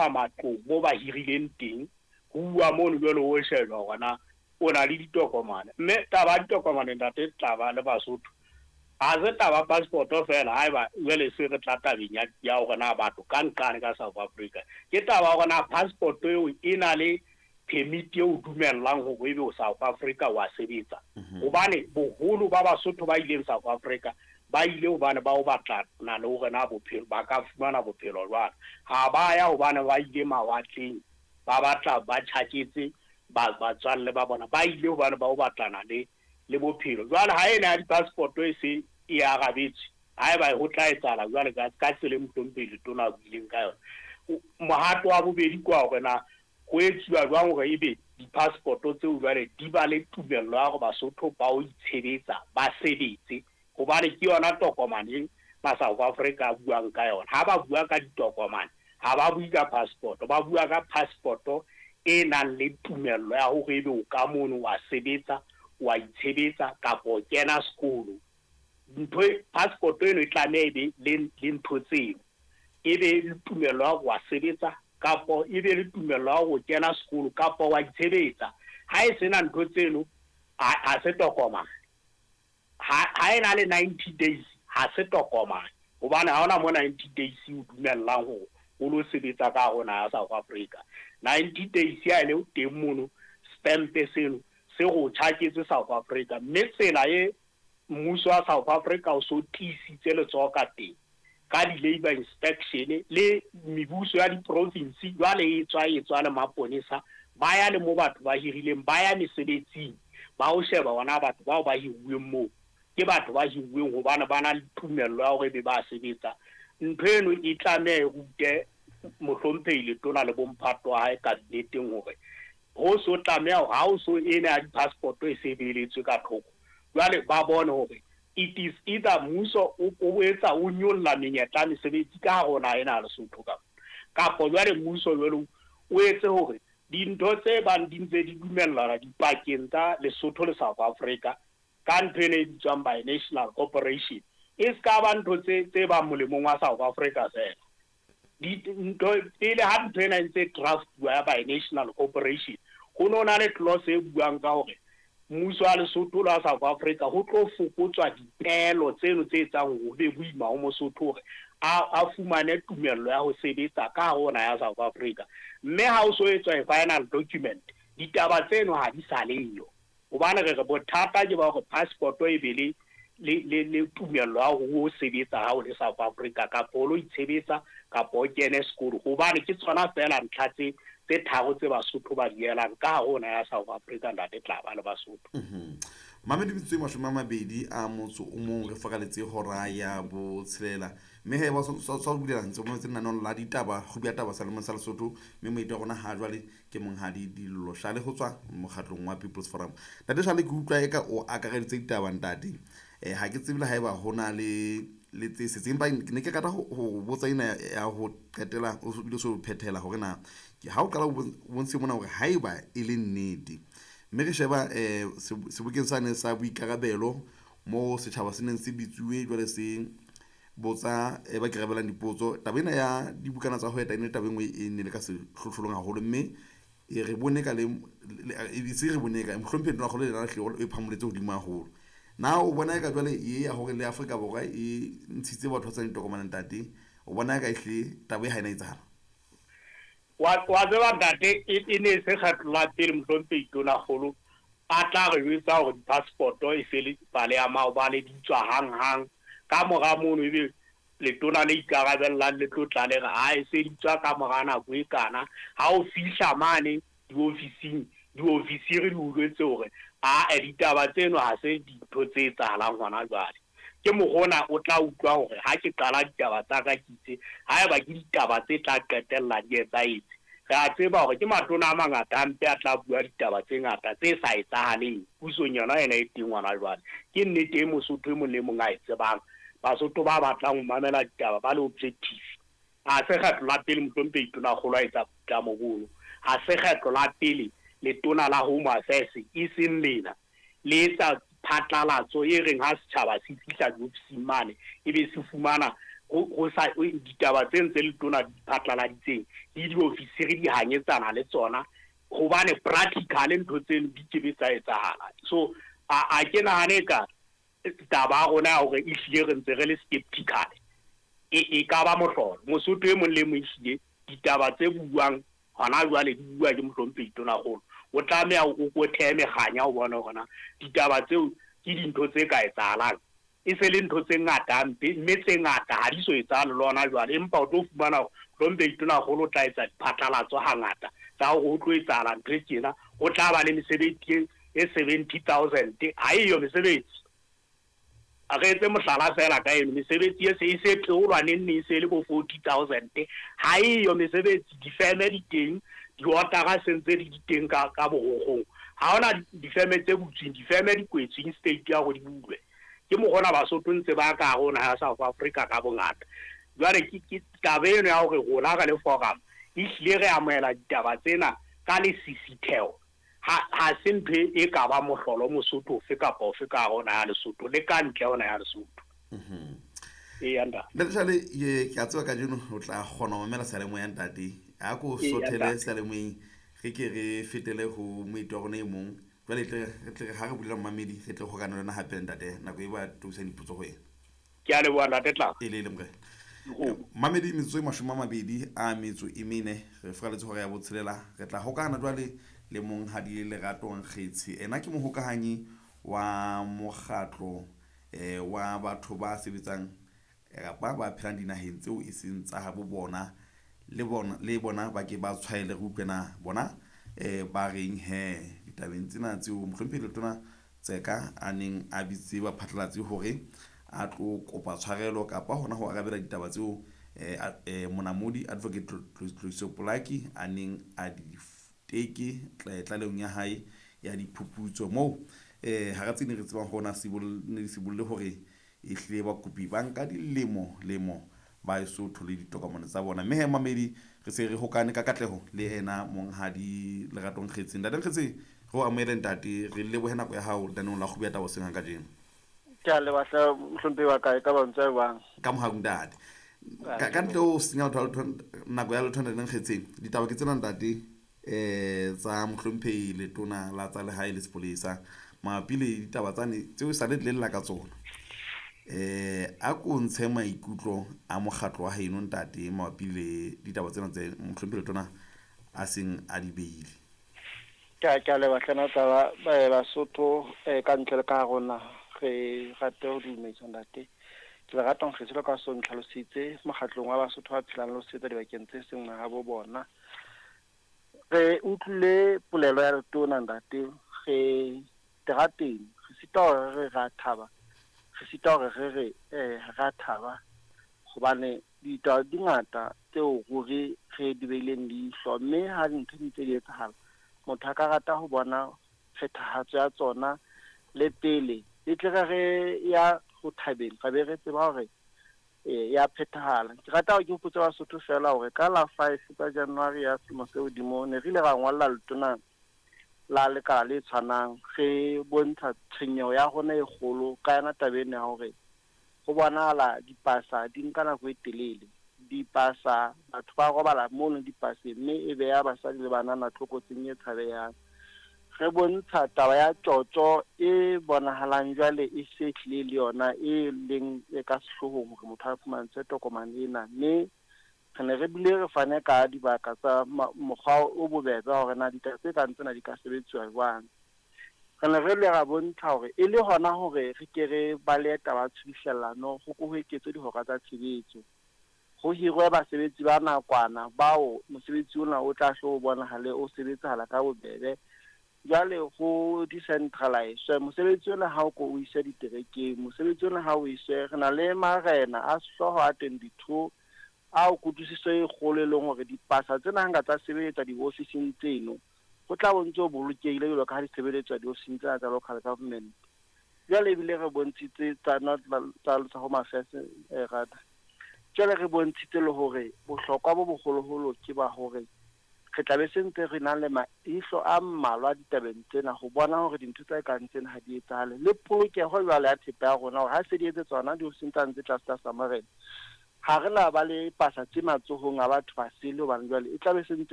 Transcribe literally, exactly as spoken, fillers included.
Matlong mo ba hirileng teng, ho uwa mono jwale ho shejwa hore na o na le ditokomane. Mme taba ya ditokomane, ntate Tlaba le Basotho, ha se taba passport feela. Haeba jwale se re tla tabeng ya ya hore na batho ka nqane ka South Africa, ke taba ya hore na passport eo e na le permit eo dumellang hore ebe o South Africa wa sebetsa, hobane boholo ba Basotho ba ileng South Africa ba ile hobane ba o batlana le hore na bophelo ba ka fumana bophelo jwang. Ha ba ya hobane ba ile mawatleng ba batla ba tjhaketse batswalle ba bona, ba ile hobane ba o batlana le le bophelo. Jwale ha ena ya di-passport e se e arabetswe, haeba ho tla etsahala jwale ka ka tsela e mohlomphehi letona a buileng ka yona, mohato wa bobedi ke wa hore na ho etsuwa jwang hore ebe di-passport tseo jwale di ba le tumello ya hore Basotho ba o itshebetsa, ba sebetse, hobane ke yona tokomane ba South Africa a buang ka yona. Ha ba bua ka ditokomane, ha ba bue ka passport, ba bua ka passport e nang le tumello ya hore ebe o ka mono wa sebetsa, wa itshebetsa kapa o kena sekolo. Ntho passport eno e tlameha ebe le le ntho tseo, ebe le tumello ya hore wa sebetsa kapa ebe le tumello ya hore o kena sekolo kapa wa itshebetsa. Ha e sena ntho tseno, ha se tokomane. Ha ha e na le ninety days, ha se tokomane, hobane ha hona mo ninety days o dumellang hore o lo sebetsa ka hare ho naha ya South Africa. ninety days ha e le teng mono, stamp seno se go tjhaketse South Africa, mme tsela e mmuso wa South Africa o so tiisitse letsoho ka teng ka di-labour inspection le mebuso ya di-province jwale e tswa e tswa le maponesa, ba ya le mo batho ba hirileng, ba ya mesebetsing ba ho sheba hona batho bao ba hiruweng moo ke batho ba hiruweng hobane ba na le tumello ya hore ebe ba sebetsa. Ntho eno e tlameha e rute mohlomphehi letona le bomphato wa hae kabineteng hore ho so tlameha hore ha o so ena ya di-passport e se beeletswe ka thoko, jwale ba bone hore it is either mmuso o etsa o nyolla menyetla ya mesebetsi ka hare ho naha ena ya Lesotho, kapa kapa jwale mmuso jwale o etse hore dintho tse bang di ntse di dumellana dipakeng tsa Lesotho le South Africa ka ntho ena e bitswang binational cooperation e se ka ba ntho tse tse bang molemong wa South Africa fela. Ntho pele ha ntho ena e ntse draftuwa ya binational cooperation, ho no na le clause e buang ka hore mmuso wa Lesotho le wa South Africa ho tlo fokotswa dipeelo tseno tse etsang hore ho be boima ho Mosotho hore a a fumane tumello ya ho sebetsa ka hare ho naha ya South Africa. Mme ha o so etswa e final document, ditaba tseno ha di sa leyo, hobane re re bothata ke ba hore passport e be le le le le tumello ya hore o sebetsa ha o le South Africa kapa o lo itshebetsa kapa o kene sekolo, hobane ke tsona feela ntlha tse tse tharo tse Basotho ba di elang ka hare ho naha ya South Africa, ntate Tlaba le Basotho. Mamedi metsotso e mashome a mabedi a motso o mong re fakaletse hora ya botshelela, mme he ba sa bulela ntse mo lenaneong la ditaba kgubu ya taba sa lemong sa Lesotho, mme moeti wa rona ha jwale ke monghadi Dillo Shale ho tswa mokgatlong wa People's Forum. Ntate Shale, ke utlwa eka o akareditse ditaba ntate. Eh ha ke tsebe le haeba ho na le le tse setseng, empa ne ke rata ho botsa ena ya ho qetela o bile so phethela hore na ha o qala o bontshe mona hore haeba e le nnete, mme re sheba eh sebokeng sane sa boikarabelo mo setjhaba se neng se bitsuwe jwale se botsa e ba kerabelang dipotso, taba ena ya dibukana tsa ho eta e ne taba e nngwe e ne le ka sehlohlolong haholo, mme e re bone ka le e se re bone ka mohlomphehi Tonakgolo le yena hlile e phamoletse hodimo haholo. Na o bona eka jwale e ya hore le Afrika Borwa e ntshitse batho ba sa ditokomane ntate, o bona eka ehlile taba e ha ena etsahala? Wa wa tseba ntate, e ne se kgetlo la pele mohlomphehi Tonakgolo a tla re jwetsa hore di-passport e se le pale ya maobane di tswa hang-hang. Ka mora mono ebe letona le ikarabellang le tlo tla le re ha e se di tswa ka mora nako e kana. Ha o fihla mane diofising, diofisiri di o jwetse hore a ditaba tseno ha se dintho tse etsahalang hona jwale. Ke mokgona o tla utlwa hore ha ke qala ditaba tsa ka ke itse haeba ke ditaba tse tla qetella di etsahetse. Re a tseba hore ke matona a mangata a mpe a tla bua ditaba tse ngata tse sa etsahaleng pusong yona ena e teng hona jwale. Ke nnete e Mosotho e mong le mong a e tsebang. Basotho ba batlang ho mamela ditaba ba le objective. Ha se kgetlo la pele mohlomphehi Tonakgolo a etsa boitlamo bono. Ha se kgetlo la pele letona la Home Affairs e seng lena le etsa phatlalatso e reng ha setjhaba se fihla diofising mane ebe se fumana Ho sa ditaba tse ntse le tona di phatlaladitseng le diofisiri di hanyetsana le tsona hobane practically ntho tseno di ke be tsa etsahala. So a a ke nahane ka taba ya rona ya hore ehlile re ntse re le skeptical e e ka ba mohlolo. Mosotho e mong le mong ehlile ditaba tse buang hona jwale di bua ke mohlomphehi Tonakgolo, o tlameha o ko thehe mekganya o bone hore na ditaba tseo ke dintho tse ka etsahalang. E se le ntho tse ngata hampe, mme tse ngata ha di so etsahale le hona jwale, empa o tlo fumana hore mohlomphehi Tonakgolo o tla etsa diphatlalatso hangata tsa hore ho tlo etsahala ntho e tjena, ho tla ba le mesebetsi e seventy thousand. Ha eyo mesebetsi. A re etse mohlala feela ka eno, mesebetsi e se e se theolwa neng neng e se le bo forty thousand. Ha eyo mesebetsi, difeme di teng, diotara se ntse di di teng ka ka borokgong. Ha hona difeme tse butsweng, difeme di kwetsweng state ya hore di bulwe. Ke mokgona Basotho ntse ba ka hare ho naha ya South Africa ka bongata. Jwale ke ke taba eno ya hore rona re le forum ehlile re amohela ditaba tsena ka lesisitheho, ha ha se ntho e ka ba mohlolo Mosotho ofe kapa ofe ka hare ho naha ya Lesotho le ka ntle ho naha ya Lesotho. Eya ntate. Ntate Jale, ke a tseba kajeno o tla kgona ho mamela seyalemoya ntate. A ko sothele seyalemoyeng re ke re fetele ho moeti wa rona e mong. Jwale tle re tle ha re bulela momamedi re tle hokane le yona hape ntate nako e ba toisang dipotso ho yena. Ke a leboha ntate Tla. E le le morena. Mamedi metsotso e mashome a mabedi a metso e mene re furaletse hora ya botshelela re tla hokahana jwale le monghadi Lerato Nkgetshe. Ena ke mohokahanyi wa mokgatlo eh wa batho ba sebetsang kapa ba phelang dinaheng tseo e seng tsa habo bona le bona le bona ba ke ba tshwaele re utlwe na bona eh ba reng he ditabeng tsena tseo mohlomphehi Letona Tseka a neng a bitse baphatlalatsi hore a tlo kopa tshwarelo kapa hona ho arabela ditaba tseo eh, eh monamodi Advocate Tloiso Polaki a neng a di teke tlalehong ya hae ya diphuputso moo eh hara tse ding re tsebang hore na ne di sibolle hore ehlile bakopi ba nka dilemo lemo ba eso thole ditokomane tsa bona. Mme he mamedi re se re hokane ka katleho le ena monghadi Lerato Nkgetshe. Ntate Nkgetshe, re o amohele ntate, re lebohe nako ya hao lenaneong la Kgubu ya Taba hoseng ha kajeno. Ke a leboha hle mohlomphehi wa ka, e ka ba ntse jwang? Ka mohau ntate. Ka ka ntle ho senya nako ya letho ntate Nkgetshe, ditaba ke tsena ntate eh tsa mohlomphehi Letona la tsa lehae le sepolesa mabapi le ditaba tsane tseo sa le lla ka tsona. Eh a ko ntshe maikutlo a mokgatlo wa heno ntate mabapi le ditaba tsena tse mohlomphehi Letona a seng a di beile. Ke a ke a leboha hle nna taba Basotho ka ntle le ka hare ho naha re rate ho dumedisa ntate. Ke Lerato Nkgetshe jwalo ka so ntlhalositse mokgatlong wa Basotho ba phelang le ho sebetsa dibakeng tse seng mahabo bona. Re utlwile polelo ya Letona ntate, re terateng re sita hore re ra thaba, re sita hore re re eh ra thaba hobane ditaba di ngata tseo ruri re di beileng leihlo, mme ha dintho di ntse di etsahala motho a ka rata ho bona phethahatso ya tsona le pele e tle re re ya ho thabeng ra be re tseba hore ya phethahala. Ke rata hore ke hopotse Basotho feela hore ka la five tsa January ya selemo se hodimo ne re ile ra ngolla Letona la lekala le tshwanang re bontsha tshwenyeho ya rona e kgolo ka yona taba ena ya hore ho bonahala dipasa di nka nako e telele. Dipasa batho ba robala mono dipaseng mme e beha basadi le banana tlokotsing e tshabehang. Re bontsha taba ya tjotjo e bonahalang jwale e se tlile le yona e leng e ka sehloohong hore motho a fumantshwe tokomane ena, mme re ne re bile re fane ka dibaka tsa mokgwa o bobebe hore na ditaba tse kang tsena di ka sebetsuwa jwang. Re ne re le ra bontsha hore e le hona hore re ke re balehe taba ya tshubuhlellano ho ko ho eketswe dihora tsa tshebetso, ho hirwe basebetsi ba nakwana bao mosebetsi ona o tla hlo o bonahale o sebetsahala ka bobebe. Jwale ho decentralize mosebetsi ona ha o ko o iswe diterekeng, mosebetsi ona ha o iswe re na le marena a sehlooho a twenty-two ao kutlwisiso e kgolo e leng hore dipasa tsena ha nka tsa sebeletswa diofising tseno ho tla bo ntse o bolokehile jwalo ka ha di sebeletswa diofising tsena tsa local government. Jwale ebile re bontshitse tsa tsa Home Affairs rather jwale re bontshitse le hore bohlokwa bo boholoholo ke ba hore re tla be se ntse re na le maihlo a mmalwa ditabeng tsena ho bona hore dintho tse kang tsena ha di etsahale, le polokeho jwale ya thepa ya rona hore ha se di etse tsona diofising tsa ntse tlase tlasa marena Ha re na ba le pasa tse matsohong a batho ba sele, hobane jwale e tlabe se ntse